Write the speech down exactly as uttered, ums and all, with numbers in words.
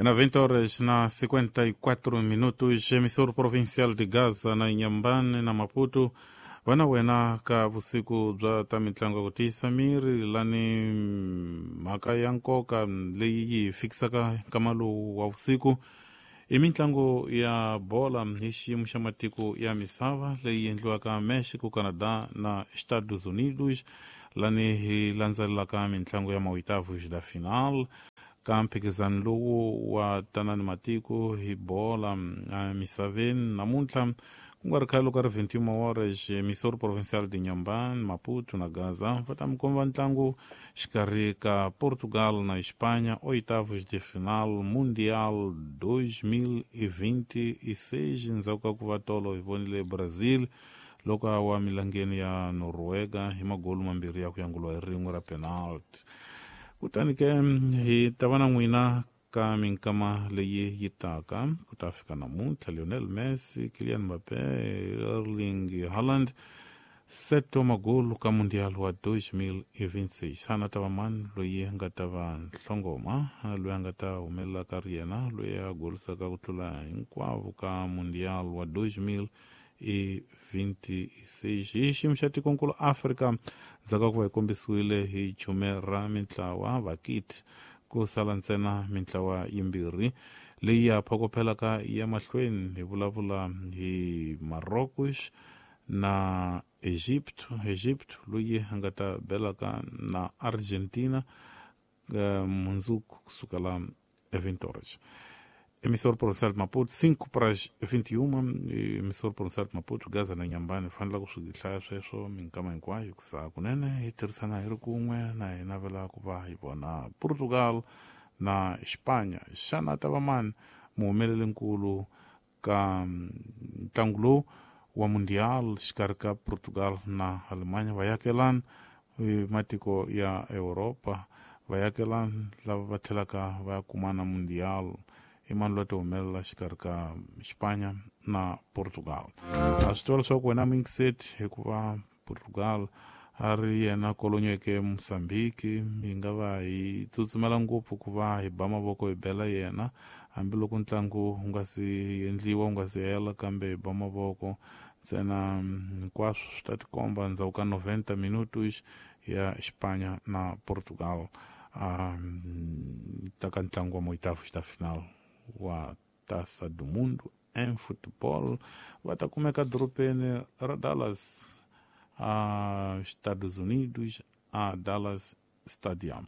Na vinte horas na cinquenta e quatro minutos, emissor provincial de Gaza na Inhambane na Maputo, vana wena ka vusiku bya ta mitlangu ku tiyisa miri lani mhaka ya nkoka leyi yi hi fikisaka nkama lowu wa vusiku i mitlangu ya bola hi xiyimo xa matiko ya misava leyi endliwaka Mexico, Canada na Estados Unidos, lani hi landzelelaka mitlangu ya maoitavos da final ka mphikizano lowu wa tanani matiko hi bola emisaveni. Namuntlha ku nga ri khale loko ri vinte e uma horas, emissor provincial de Inhambane, Maputo na Gaza va ta mi komba ntlangu xikarhi ka Portugal na Espanha, oitavos de final Mundial dois mil e vinte e seis. Ndzhaku ka ku va tolo hi vonile Brazil loko a wa milangeni ya Noruega hi magolu mambirhi ya ku yanguliwa hi rin'we ra penalty. Kutani ke hi ta va na n'wina ka minkama leyi yi taka ku ta fika namuntlha. Lionel Messi, Kylian Mbappé, Erling Haaland, sete wa magolu ka Mundial wa dois mil e vinte e seis. Xana ta va mani loyi a nga ta va nhlongoma, loyi a nga ta humelela ka ri yena loyi a golisaka ku tlula hinkwavo ka Mundial wa dois mil e vinte e seis? Hi xiyimo xa tikonkulu Afrika, ndzhaku ka ku va hi kombisiwile hi chume ra mintlawa vakiti, ku sala ntsena mintlawa yimbirhi leyi ya phokophelaka ya mahlweni. Hi vulavula hi Marocos na Egypt. Egypt loyi a nga ta belaka na Argentina mundzuku kusukela vinte horas. Emissor provincial de Maputo, cinco para as vinte e uma, emissor provincial de Maputo, Gaza na Inhambane. Fanela ku swi hlaya sweswo minkama hinkwayo kusa kunene hi tirhisana hi ri kun'we na hi navela ku va hi vona Portugal na Espanha. Xana ta va mani muhumelelinkulu ka ntlangu lowu wa Mundial xikarhi ka Portugal na Alemanha? Vayakelani matiko ya Europa, vayakelani lava va tlhelaka va ya kumana Mundial, i mani loyi a ti humelela xikarhi ka Espanha na Portugal? A swi tiva leswaku wena mingiseti, hikuva Portugal a ri yena kolonyeke Mozambique, hi nga va hi tsutsumela ngopfu ku va hi ba mavoko hi bela yena hambiloko ntlangu wu nga si endliwa, wu nga si hela, kambe hi ba mavoko ntsena. Hinkwaswo swi ta tikomba ndzhaku ka noventa minutos ya Espanha na Portugal um, ta ka ntlangu wa moitavos da final wa Taça do Mundo em futebol. Va ta kumeka dorobeni ra Dallas, a Estados Unidos, a Dallas Stadium.